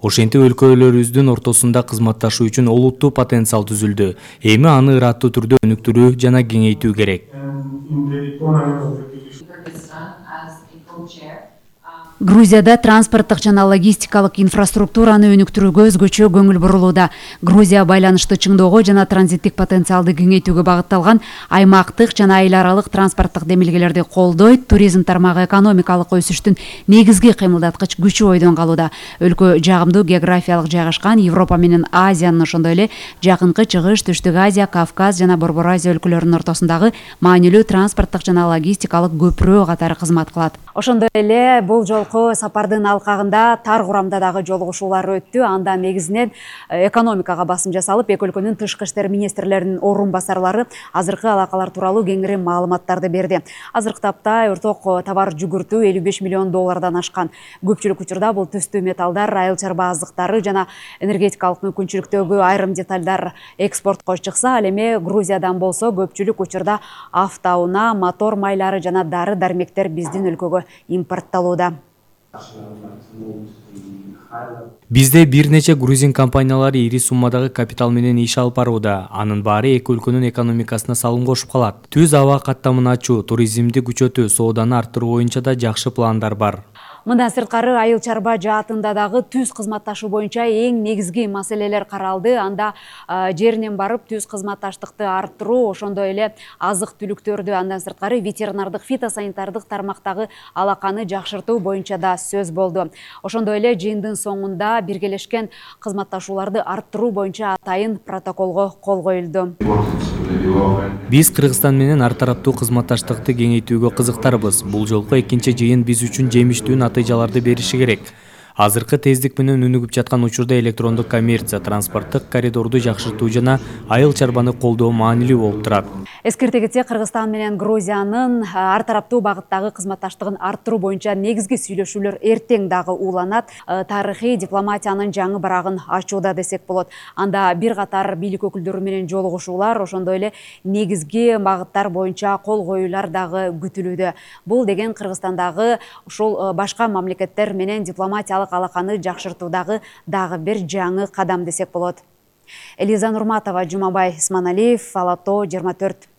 Ошентип өлкөлөрүбүздүн ортосунда кызматташуу үчүн олуттуу потенциал түзүлдү. Эми аны ыраттуу түрдө өнүктүрүү жана кеңейтүү керек. Грузияда транспорттук жана логистикалык инфраструктураны өнүктүрүүгө өзгөчө көңүл бурулууда. Грузия байланышты чыңдоого жана транзиттик потенциалды кеңейтүүгө багытталган аймактык жана айыл аралык транспорттук демилгелерди колдойт, туризм тармагы экономикалык өсүштүн негизги кыймылдаткыч күчү бойдон калууда. Өлкө жагымдуу географиялык жайгашкан, Европа менен Азиянын, ошондой эле Жакынкы Чыгыш, Түштүк Азия, Кавказ жана Борбор Азия өлкөлөрүнүн ортосундагы маанилүү транспорттук жана логистикалык көпүрө катары кызмат кылат. Ошондой эле бул жолку сапардын алкагында тар курамда дагы жолугушуулар өттү. Анда негизинен экономикага басым жасалып, эки өлкөнүн тышкы иштер министрлеринин орун басарлары азыркы алакалар тууралуу кеңири маалыматтарды берди. Азыркы тапта орток товар жүгүртүү $55 миллион ашкан. Көпчүлүк учурда бул түстүү металлдар, айыл чарба азыктары жана энергетикалык мүмкүнчүлүктөгү айрым деталдар экспортко чыкса, ал эми Грузиядан болсо көпчүлүк учурда автоунаа, мотор майлары жана дары-дармектер биздин өлкөгө импорттолууда. Бизде бир нече грузин компаниялары ири суммадагы капитал менен иш алып барууда. Анын баары эки өлкөнүн экономикасына салым кошуп калат. Түз аба каттамын ачуу, туризмди күчөтүү, сооданы арттыруу боюнча да жакшы пландар бар. Мындан сырткары айыл чарба жаатында дагы түз кызматташуу боюнча эң негизги маселелер каралды. Анда жеринен барып түз кызматташтыкты арттыруу, ошондой эле азык-түлүктөрдү, андан сырткары ветеринардык, фитосанитардык тармактагы алаканы жакшыртуу боюнча да сөз болду. Ошондой эле жыйындын соңунда биргелешкен кызматташууларды арттыруу боюнча атайын протоколго кол коюлду. Биз Кыргызстан менен ар тараптуу кызматташтыкты кеңейтүүгө кызыктарбыз. Бул жолку экинчи жыйын биз үчүн жемиштүү натыйжаларды бериши керек. Азыркы тездик менен өнүгүп жаткан учурда электрондук коммерция, транспорттук коридорду жакшыртуу жана айыл чарбаны колдоо маанилүү болуп турат. Эскерте кетсек, Кыргызстан менен Грузиянын ар тараптуу багыттагы кызматташтыгын арттыруу боюнча негизги сүйлөшүүлөр эртең дагы ууланат. Тарыхый дипломатиянын жаңы барагын ачууда десек болот. Анда бир катар бийлик өкүлдөрү менен жолугушуулар, ошондой эле негизги багыттар боюнча кол коюулар дагы күтүлүүдө. Бул деген Кыргызстандагы ушул башка мамлекеттер менен дипломатиялык алаканы жакшыртуудагы дагы бир жаңы кадам десек болот. Элиза Нурматова, Жумабай Исманалиев, Алато 24.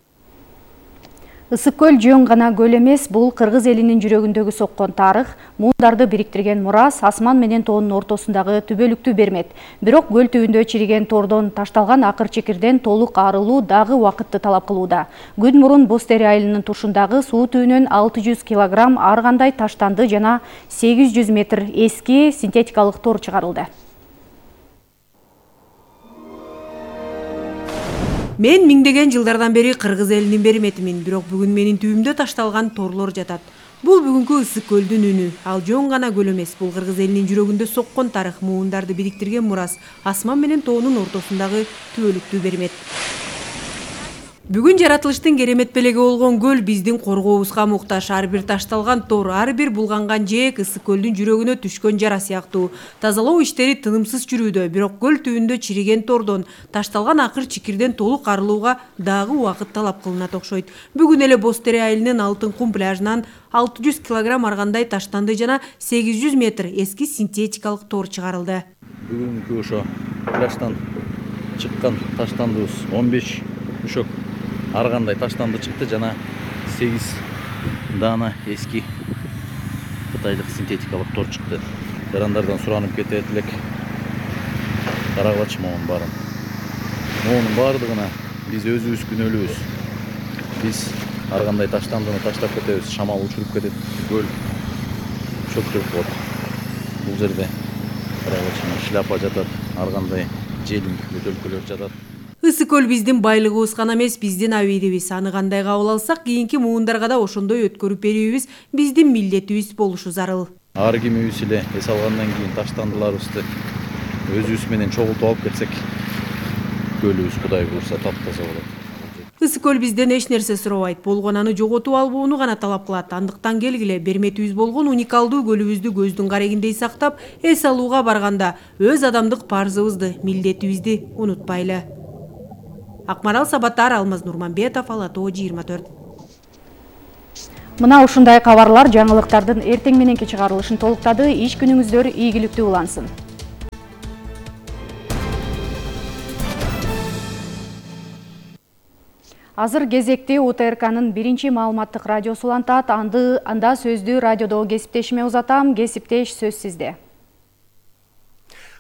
Ысык көл жөн гана көл эмес, бул кыргыз элинин жүрөгүндөгү соккон тарых, муундарды бириктирген мурас, асман менен тоонун ортосундагы түбөлүктүү бермет. Бирок көл түбүндө чириген тордон ташталган акыр чекирден толук арылуу дагы убакытты талап кылууда. Күн мурун Бостери айылынын тушундагы суу түбүнөн 600 килограмм ар кандай таштанды жана 800 метр эски синтетикалык тор чыгарылды. Мен миңдеген жылдардан бери кыргыз элинин берметимин, бирок бүгүн менин түбүмдө ташталган торлор жатат. Бул бүгүнкү ысык көлдүн үнү. Ал жөн гана көл эмес, бул кыргыз элинин жүрөгүндө соккон тарых, муундарды бириктирген мурас, асман менен тоонун ортосундагы түбөлүктүү бермет. Бүгүн жаратылыштын керемет белеги болгон көл биздин коргообузга муктаж. Ар бир ташталган тор, ар бир булганган жээк ысык көлдүн жүрөгүнө түшкөн жара сыяктуу. Тазалоо иштери тынымсыз жүрүүдө, бирок көл түбүндө чириген тордон, ташталган акыр чикирден толук арылууга дагы убакыт талап кылынат окшойт. Бүгүн эле Бостери айылынын Алтын кум пляжынан 600 килограмм аргандай таштанды жана 800 метр эски синтетикалык тор чыгарылды. Бүгүнкү ошо пляждан чыккан таштандыбыз 15 мешок ар кандай таштанды чыкты жана 8 дана эски кытайлык синтетикалык тор чыкты. Жарандардан суранып кетет элек. Карагылачы моунун баарын. Моунун баардыгына биз өзүбүз күнөөлүүбүз. Биз ар кандай таштандыны таштап кетебиз, шамал учуруп кетет, көл чөктүрүп коет. Бул жерде карагылачы шляпа жатат, ар кандай желим бөтөлкөлөр жатат. Ысык көл биздин байлыгыбыз гана эмес, биздин абийдибиз. Аны кандай кабыл алсак, кийинки муундарга да ошондой өткөрүп берүүбүз биздин милдетибиз болушу зарыл. Ар кимибиз эле эс алгандан кийин таштандыларыбызды өзүбүз менен чогултуп алып кетсек, көлүбүз Кудай буйрса таптаза болот. Ысык көл бизден эч нерсе суробайт, болгон аны жоготуп албоону гана талап кылат. Андыктан келгиле берметибиз болгон уникалдуу көлүбүздү көздүн карегиндей сактап, эс алууга барганда өз адамдык парзыбызды, милдетибизди унутпайлы. Акмарал Сабаттар, Алмаз Нурманбетов, Алато 24. Мына ушундай кабарлар жаңылыктардын эртең мененки чыгарылышын толуктады. Иш күнүңүздөр ийгиликтүү улансын. Азыр кезекти УТРКнын биринчи маалыматтык радиосу улантат. Анда сөздү радиодогу кесиптешиме узатам. Кесиптеш, сөз сизде.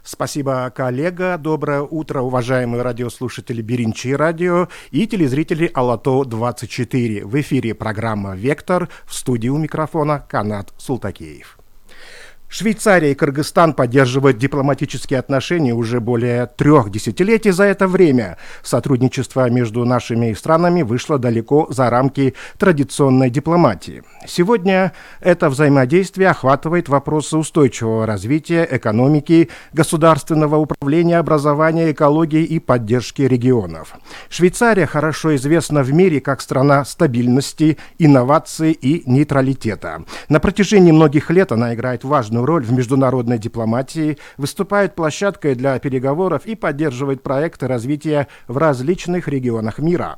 Спасибо, коллега. Доброе утро, уважаемые радиослушатели Биринчи радио и телезрители Алато-24. В эфире программа «Вектор», в студии у микрофона Канат Султакеев. Швейцария и Кыргызстан поддерживают дипломатические отношения уже более 3 десятилетий. За это время сотрудничество между нашими странами вышло далеко за рамки традиционной дипломатии. Сегодня это взаимодействие охватывает вопросы устойчивого развития, экономики, государственного управления, образования, экологии и поддержки регионов. Швейцария хорошо известна в мире как страна стабильности, инноваций и нейтралитета. На протяжении многих лет она играет важную роль в международной дипломатии, выступает площадкой для переговоров и поддерживает проекты развития в различных регионах мира.